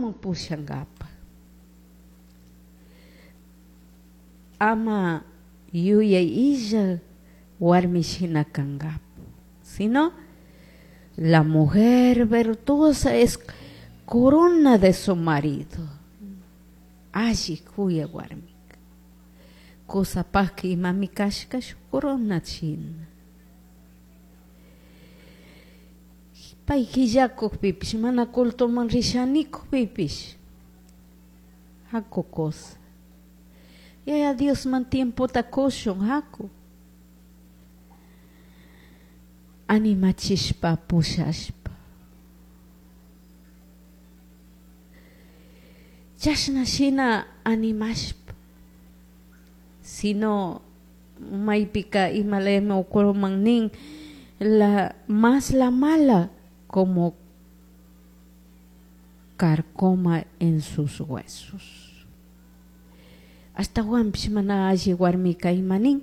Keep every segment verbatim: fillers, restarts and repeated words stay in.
Ñawpaman pushankapa ama yuyay illa warmi shina kankapa, sino la mujer virtuosa es corona de su marido. Alli kuyak warmika kusapakka imami kashka shuk corona shina. Pay killakukpipish mana cultoman rishanikukpipish haku kusa Yaya Diosman tiempota kushun haku animachishpa pushashpa chashna shina animashpa sino maypika imalayami ukuman nin la más la mala como carcoma en sus huesos. Ashtawanpish mana alli warmika ima nin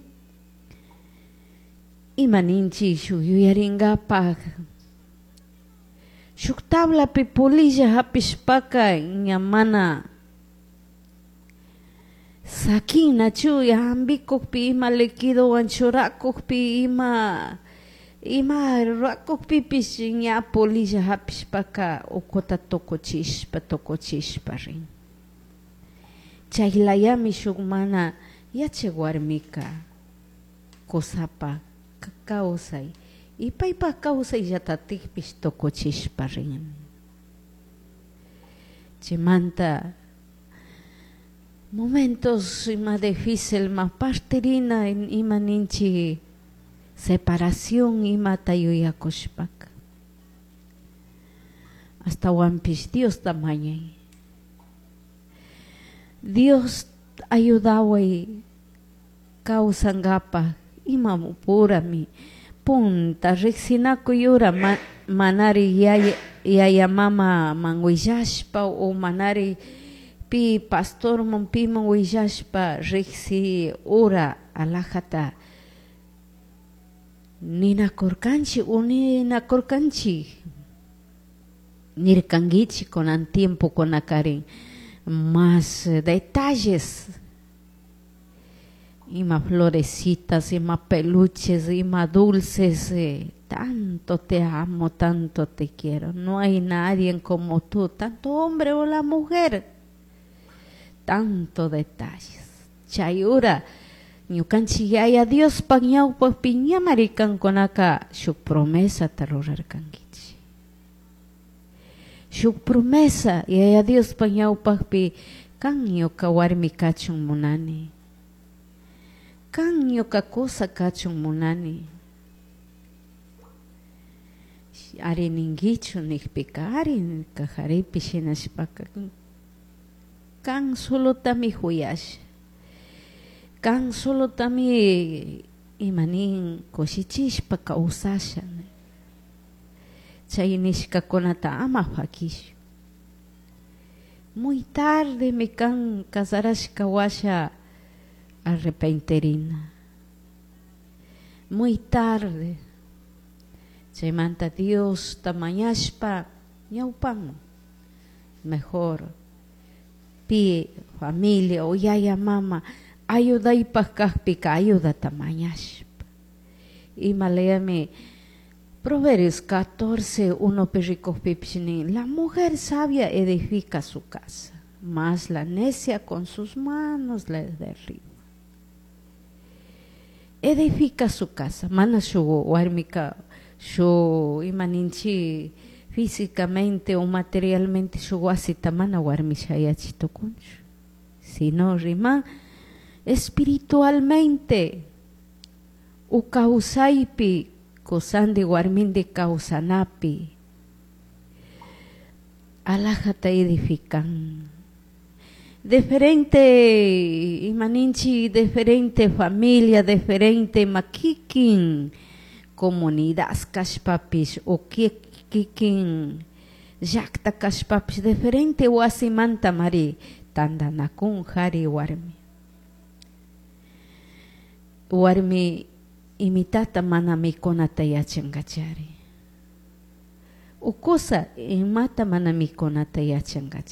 ima ninchik shuk yuyarinkapak shuk tablapi polilla hapishpaka ña mana sakinachu hampikukpi ima liquidowan churakukpi ima ima rurakukpipish ña polilla hapishpaka ukuta tukuchishpa tukuchishpa rin. Chaylayami shuk mana yachak warmika kusapak kawsay y paypak kawsayllatatikpish tukuchishpa rin. Chaymanta momentos ima difícil ma partirina ima ninchik separación imata yuyakushpaka ashtawanpish Diosta mañay. Dios ayudaway kawsankapak ima purami punta riksinakuy ura ma, manari yaya, yaya mamaman willashpa o manari pi pastorman piman willashpa riksi ura alajata ninakurkanchik o ninakurkanchik nirkankichik kunan tiempokunakarin más detalles ima florecitas, ima peluches, ima dulces, eh, tanto te amo, tanto te quiero, no hay nadie como tú, tanto hombre o la mujer, tanto detalles. Chay ura ñukanchik Yaya Diospak ñawpakpi ñamari kankunaka shuk promesata rurarkankichik. Shuk promesa Yaya Diospak ñawpakpi kan ñuka warmi kachun munani, kan ñuka kusa kachun munani. Ari ninkichu nikpika ari kajaripi shinashpaka kan solotami juyasha, kan solotami imanin kushichishpa kawsasha. Chay nishkakunata ama fakishun. Muy tarde mi kan casarashka washa arrepentirina. Muy tarde. Chaymanta Diosta mañashpa ñawpaman mejor pi familia o yaya mama ayudaypak kakpika ayudata mañashpa. Imalayami Proverbios catorce, uno rikukpipish nin la mujer sabia edifica su casa, mas la necia con sus manos la derriba. Edifica su casa, mana shuk warmika shuk ima ninchik físicamente o materialmente shuk wasita mana warmi shayachi tukunchu, sino riman espiritualmente u kawsaypi kusandi warmindi kawsanapi alajata edifican. Diferente imaninchik diferente familia, diferente makikin comunidad kashpapish o kikin llakta kashpapish diferente wasimanta mari tantanakun jari warmi. Warmi imitata mana mikunata yachankachari. Ukusa imata mana mikunata yachankachari.